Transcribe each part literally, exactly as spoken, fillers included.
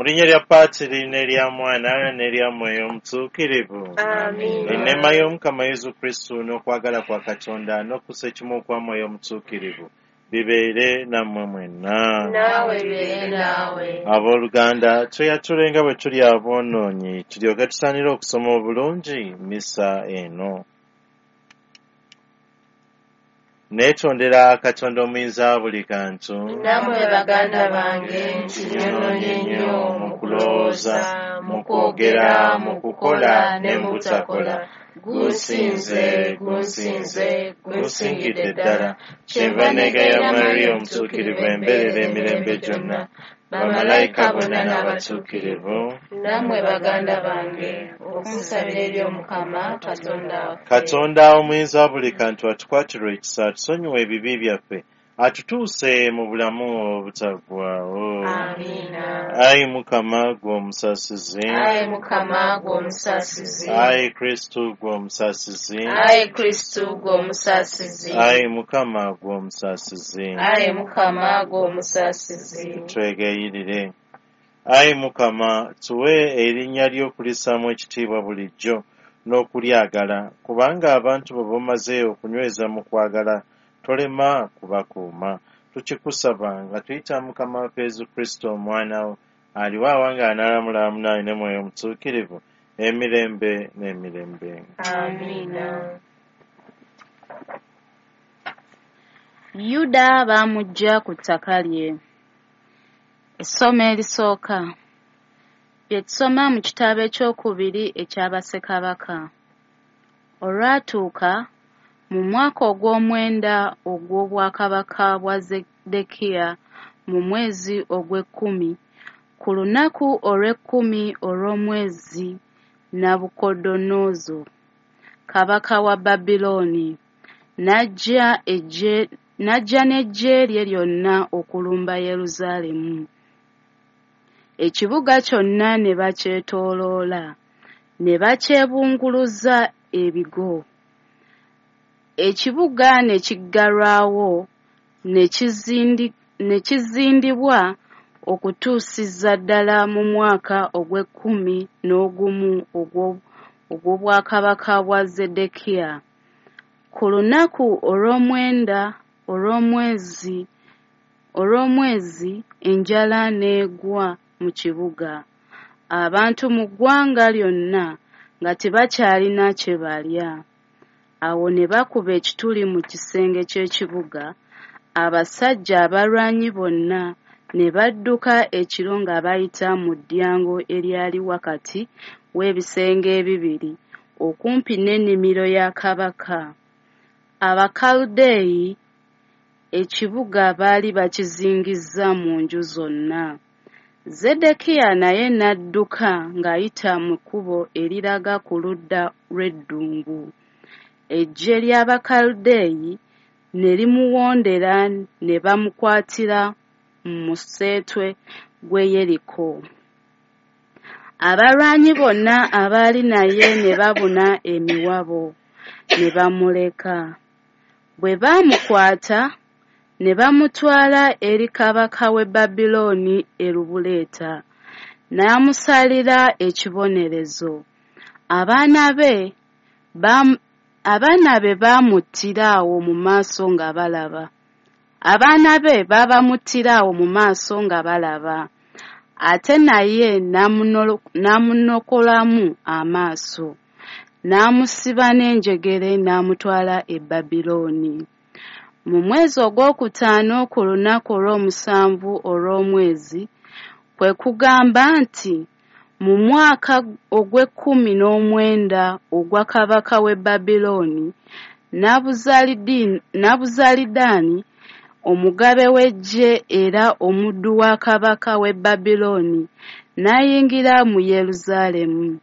Mu linnya lya Patiri n'erya Mwana n'erya Mwoyo Omutuukirivu. Amiina. Enneema y'Omukama Yesu Kristo n'okwagala kwa Katonda n'okussa ekimu okwa Mwoyo Omutuukirivu bibeere nammwe mwenna. Naawe bibeere naawe. Abooluganda, tweyatule nga bwe tuli aboonoonyi tulyoke tusaanire okusoma obulungi missa eno. Neetondera Katonda omuyinza wa buli kantu. Nammwe baganda bange nti nnyonoonye nnyo mu kulowooza, mu kwogera, mu kukola ne mu butakola. Gunsinze, gunsinze, gunsingidde ddala. Kyenva neegayirira Mariya Omutuukirivu embeerera emirembe gyonna, bamalayika bonna n'abatuukirivu. Nammwe baganda bange okunsabira eri Omukama Katonda waffe. Katonda omuyinza wa buli kantu atukwatirwe ekisa, atusonyiwe ebibi byaffe, atutuuse mu bulamu obutaggwaawo. Amiina. Ayi Mukama ggwe omusaasizi. Ayi Mukama ggwe omusaasizi. Ayi Kristo ggwe omusaasizi. Ayi Kristo ggwe omusaasizi. Ayi Mukama ggwe omusaasizi. Ayi Mukama ggwe omusaasizi. Twegayirire. Ayi Mukama, tuwe erinnya lyo okulissaamu ekitiibwa bulijjo n'okulyagala, kubanga abantu bo b'omaze okunyweza mu kwagala tolema kubakuuma. Tukikusaba nga tuyita Mukama waffe Yesu Kristo Omwana wo, aliwo awangaala n'alamula wamu naawe ne Mwoyo Omutuukirivu emirembe n'emirembe. Amiina. Yuda baamuggya ku ttaka lye. Essomo erisooka bye tusoma mu kitabo ekyokubiri ekya Bassekabaka. Olwatuuka mu mwaka ogw'omwenda ogw'obwakabaka bwa Zeddekiya mu mwezi ogw'ekkumi, ku lunaku olw'ekkumi olw'omwezi, Nabukodonoozo kabaka wa Babulooni n'ajja eggye n'ajja n'eggye lye lyonna okulumba Yerusaalemu. Ekibuga kyonna ne bakyetooloola, ne bakyebunguluza ebigo. Ekibuga ne kiggalwawo ne kizindi ne kizindibwa okutuusiza ddala mu mwaka ogw'ekkumi n'ogumu ogw'obwakabaka bwa Zeddekiya. Ku lunaku olw'omwenda olw'omwezi olw'omwezi enjala n'egwa mu kibuga. Abantu mu ggwanga lyonna nga tebakyalina kye balya. Awo ne bakuba ekituli mu kisenge ky'ekibuga, abasajja abalwanyi bonna ne badduka ekiro nga bayita mu ddyango eryali wakati w'ebisenge ebibiri okumpi n'ennimiro ya kabaka. Abakaludeeyi ekibuga baali bakizingizza mu nju zonna. Zeddekiya naye n'adduka ng'ayita mu kkubo eriraga ku ludda lw'eddungu. Eggye ly'Abakaludeeyi ne limuwondera ne bamukwatira mu museetwe gw'e Yeriko. Abalwanyi bonna abaali naye ne babuna emiwabo, ne bamuleka. Bwe baamukwata, ne bamutwala eri kabaka w'e Babulooni e Lubuleeta, n'amusalira ekibonerezo. Abaana be abaana be baamuttira awo mu maaso nga balaba. Abaana be baabamuttira awo mu maaso nga balaba. Ate naye n'amunokolamu amaaso, n'amusiba n'enjegere n'amutwala e Babulooni. Mu mwezi ogwokutaano ku lunaku olw'omusanvu olw'omwezi, kwe kugamba nti mu mwaka ogw'ekkumi n'omwenda ogwa kabaka w'e Babulooni, Nabuzalidaani omugabe w'eggye era omuddu wa kabaka w'e Babulooni n'ayingira mu Yerusaalemu,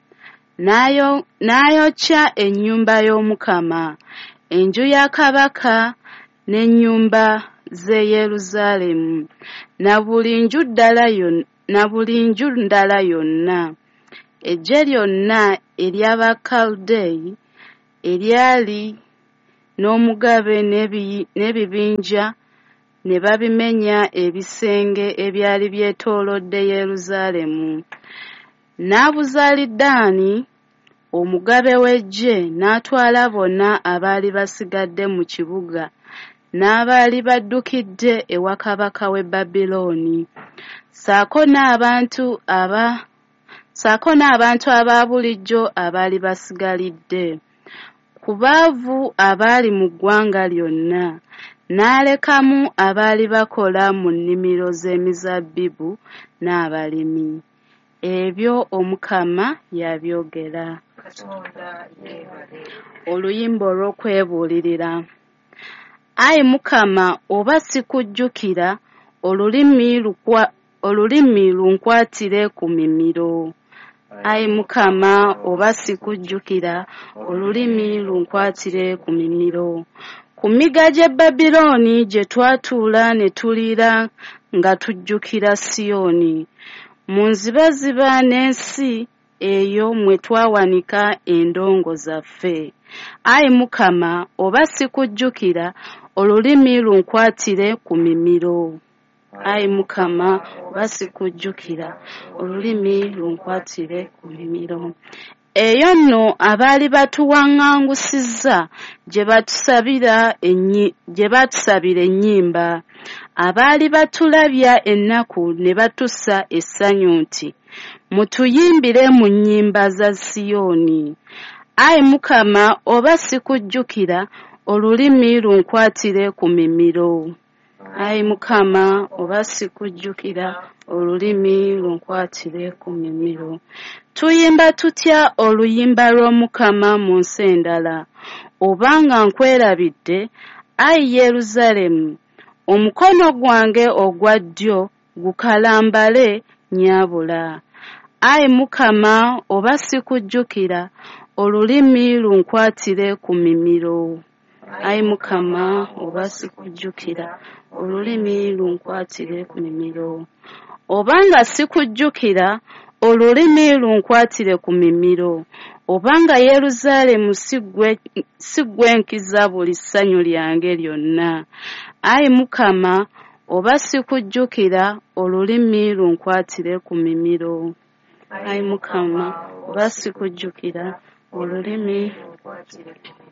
n'ayokya ennyumba y'Omukama, enju ya kabaka n'ennyumba z'e Yerusaalemu, na buli nju na buli nju ndala yonna. Eggye lyonna ery'Abakaludeeyi eryali n'omugabe n'ebibinja ne babimenya ebisenge ebyali byetoolodde Yerusaalemu. Nabuzalidaani omugabe w'eggye n'atwala bonna abaali basigadde mu kibuga n'abaali baddukidde ewa kabaka w'e Babilooni, ssaako n'abantu aba ssaako n'abantu aba bulijjo abaali basigalidde ku baavu abaali mu ggwanga lyonna, n'alekamu abaali bakola mu nnimiro z'emizabbibu n'abalimi. Ebyo Omukama yabyogera. Oluyimba olw'okwebuulirira. Ayi Mukama, oba sikujjukira, olulimi lukwa olulimi lunkwatire ku mimiro. Ayi Mukama, oba sikujjukira, olulimi lunkwatire ku mimiro. Ku migga gy'e Babilooni gye twatuula ne tulira nga tujjukira Siyoni. Mu nzibaziba n'ensi eyo mwe twawanika endongo zaffe. Ayi Mukama, oba sikujjukira, olulimi lunkwatire ku mimiro. Ayi Mukama, oba sikujjukira, olulimi lunkwatire ku mimiro. Eyo nno abaali batuwaŋŋangusizza gye batusabira ennyi gye batusabira ennyimba, abaali batulabya ennaku ne batussa essanyu nti, mutuyimbire mu nnyimba za Siyoni. Ayi Mukama, oba sikujjukira, olulimi lunkwatire ku mimiro. Ayi Mukama, oba sikujjukira, olulimi lunkwatire ku mimiro. Tuyimba tutya oluyimba lw'Omukama mu nsi endala? Obanga nkwerabidde, ayi Yerusaalemu, omukono gwange ogwa ddyo gukalambale nnyabula. Ayi Mukama, oba sikujjukira, olulimi lunkwatire ku mimiro. Ayi Mukama, oba sikujjukira, olulimi lunkwatire ku mimiro. Obanga sikujjukira, olulimi lunkwatire ku mimiro. Obanga Yerusaalemu si ggwe nkiza buli ssanyu lyange lyonna. Ayi Mukama, oba sikujjukira, olulimi lunkwatire ku mimiro. Ayi Mukama, oba sikujjukira, olulimi lunkwatire ku mimiro.